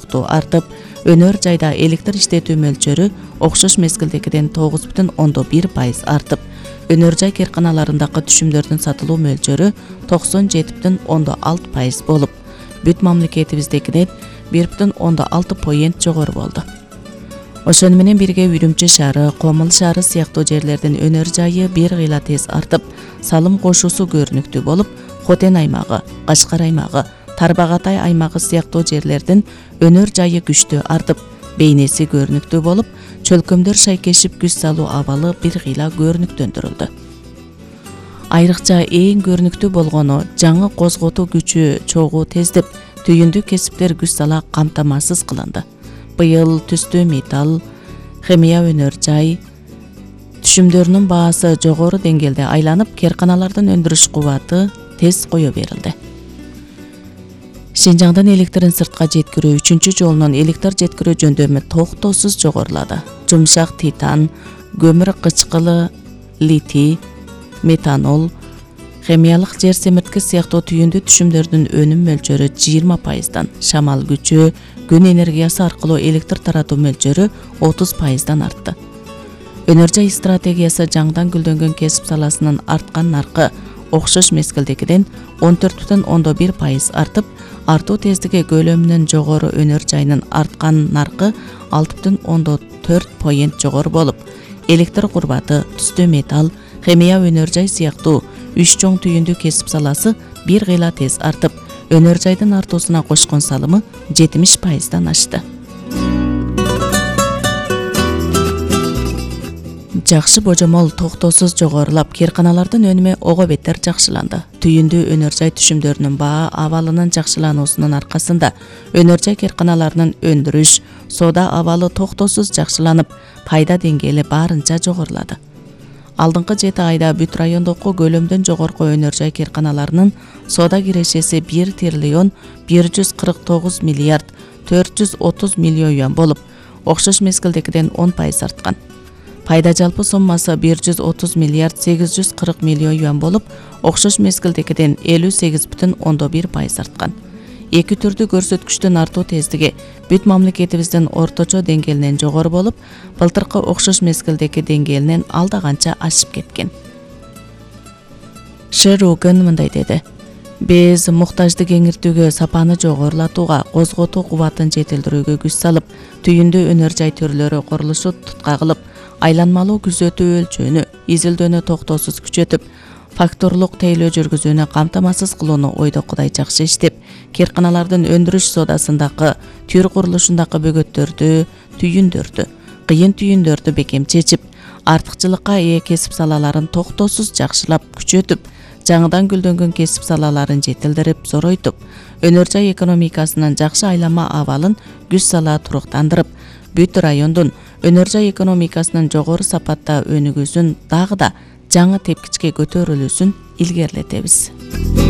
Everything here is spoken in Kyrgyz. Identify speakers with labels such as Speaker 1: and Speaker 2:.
Speaker 1: сыяктуу артып, өнөр жайда электр иштетүү мөлчөрү окшош мезгилдегиден 9,1% артып, өнөр жай кээрканаларындагы түшүмдөрдүн сатылуу мөлчөрү 97,6% болуп, бүт мамлекетибиздегиден 1,6 жогору болду. Ошону менен бирге Үрүмчү шаары, Комул шаары сыяктуу жерлердин өнөр жайы бир кыйла тез артып, салым кошуусу көрүнүктүү болуп, Хотен аймагы, Кашкар аймагы, Тарбагатай аймагы сыяктуу жерлердин өнөр жайы күчтүү артып, бейнеси көрүнүктүү болуп, чөлкөмдөр шайкешип күз салуу абалы бир кыйла көрүнүктөндүрүлдү. Айрыкча эң көрүнүктүү болгону жаңы козготуу күчү чогуу тездеп, түйүндүү кесиптер күз сала камтамасыз кылынды. Быйыл түстүү металл, химия өнөр жай түшүмдөрүнүн баасы жогору деңгээлде айланып, кээрканалардын өндүрүш кубаты тез кое берилди. Шинжаңдан электрин сыртка жеткирүү 3-чү жолунун электр жеткирүү жөндөмү токтоосуз жогорулады. Жумшак титан, көмүр кычкылы, литий, метанол, химиялык жер семиртки сыяктуу түйүндүү түшүмдөрдүн өнүм мөлчөрү 20%, шамал күчү, күн энергиясы аркылуу электр таратуу мөлчөрү 30% артты. Өнөр жай стратегиясы жаңдан гүлдөнгөн кесип саласынын арткан наркы окшош мезгилдегиден 14,1% артып, артуу тездиги көлөмүнөн жогору өнөр жайынын арткан наркы 6,4% жогору болуп, электр курбаты, түстүү металл, химия өнөр жай сыяктуу 3 чоң түйүндүү кесип саласы бир кыйла тез артып, өнөр жайдын артуусуна кошкон салымы 70%дан ашты. Жакшы божомол токтоосуз жогорулап, кээрканалардын өнүмү ого бетер жакшыланды. Түйүндүү өнөр жай түшүмдөрүнүн баа абалынын жакшылануусунун аркасында өнөр жай кээрканаларынын өндүрүш, соода абалы токтоосуз жакшыланып, пайда деңгээли баарынча жогорулады. Алдыңкы 7 айда бүт райондогу көлөмдөн жогорку өнөр жай кээрканаларынын соода кирешеси 1 триллион 149 миллиард 430 миллион юан болуп, окшош мезгилдегиден 10% арткан. Пайда жалпы соммасы 130 миллиард 840 миллион юан болуп, окшош мезгилдегиден 58,1% арткан. Эки түрдүү көрсөткүчтүн артуу тездиги бүт мамлекетибиздин орточо деңгээлинен жогору болуп, былтыркы окшош мезгилдеги деңгээлинен алда канча ашып кеткен. Шеруган мындай деди: Биз муктажды кеңиртүүгө, сапаны жогорулатууга, козготуу кубатын жетилдирүүгө күч салып, түйүндүү өнөр жай түрлөрү курулушу тутка кылып, айланмалуу күзөтүү өлчөөнү, изилдөөнү токтоосуз күчөтүп, факторлук тейлөө жүргүзүүнү камтамасыз кылууну ойдо кудай жакшы иштеп, кээрканалардын өндүрүш соодасындагы, түр курулушундагы бөгөттөрдү, түйүндөрдү, кыйын түйүндөрдү бекем чечип, артыкчылыкка ээ кесип салаларын токтоосуз жакшылап, күчөтүп, жаңыдан гүлдөнгөн кесип салаларын жетилдирип, зоройтуп, өнөр жай экономикасынын жакшы айланма абалын күз сала туруктандырып, бүт райондун өнөр жай экономикасынын жогору сапатта өнүгүүсүн дагы да жаңы тепкичке көтөрүлүүсүн илгерилетебиз.